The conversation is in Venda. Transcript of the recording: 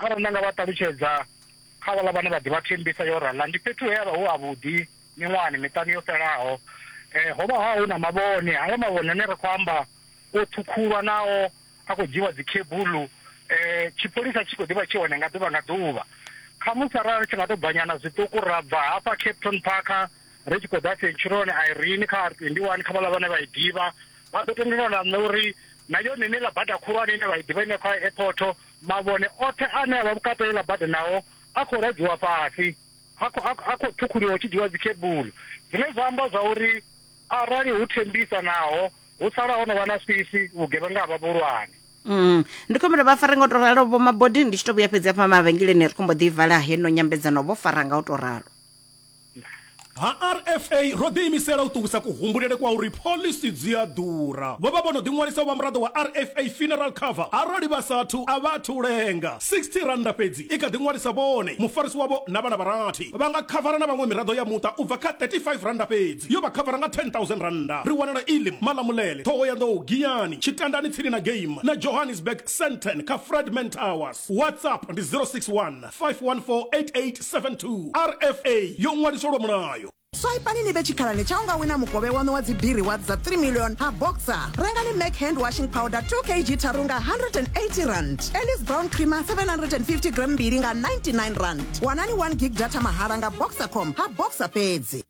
Arali nda nga vha ṱalutshedza kha vhaḽa vhane vha ḓivha Thembisa yo raḽa, ndi fhethu he ha vha hu havhuḓi miṅwahani miṱanu yo fhelaho. Ho vha hu na mavhone, haya mavhone ane ra khou amba o ṱhukhulwa nao a khou dzhiiwa dzi khebuḽu. Tshipholisa tshi khou ḓi vha tshi hone nga ḓuvha nga ḓuvha. Khamusi arali ri tshi nga tou bvanyana zwiṱuku ra bva hafha Kempton Park ri tshi khou ḓa Centurion Irene kha R21 kha vhaḽa vhane vha i ḓivha vha ḓo tendelana na nṋe uri na yone ine ḽa bada khulwane ine vha i ḓivha ine kha airport mavhone oṱhe ane a vha vhukati ha iḽa bada nao a khou radziwa fhasi a khou a khou ṱhukhuliwa hu tshi dzhiwa dzikhebulu zwine zwa amba zwa uri arali hu thembisa naho hu sala ho no vha na swiswi vhugevhenga ha vha vhuhulwane. Mm. Ndi khou humbela vha fare nga u to ralo vho Mabodi ndi tshi to vhuya fhedzi hafha mavhengeleni ri khou mbo ḓi vala heno nyambedzano vho fara nga u to ralo. Ha RFA ro ḓiimisela u ṱuwisa kuhumbulele kwa uri phoḽisi dzi a ḓura. Vho vha vho no ḓiṅwalisa u vha muraḓo wa RFA Funeral Cover. Arali vha sa athu, a vha athu lenga. R60 fhedzi i kha ḓi ṅwalisa vhone, mufarisi wavho na vhana vha rathi. Vha nga khavara na vhaṅwe miraḓo ya muṱa u bva kha R35 fhedzi, yo vha khavara nga R10,000. Ri wanala Elim, Malamulele, Ṱhohoyanḓou, Giyani, Tshitandani tsini na Game na Johannesburg, Sandton kha Fredman Towers. WhatsApp ndi 061 514 8872. RFA yo ṅwaliswa lwa mulayo. Swaipani ni vhe tshikhalani tsha u nga wina mukovhe waṋu wa dzibiri wa dza 3 million ha Boxer. Rengani Mac hand washing powder 2 kg tharu nga R180. Ellis Brown creamer 750 gram mbili nga R99. Wanani 1 gig data mahala nga Boxercom ha Boxer fhedzi.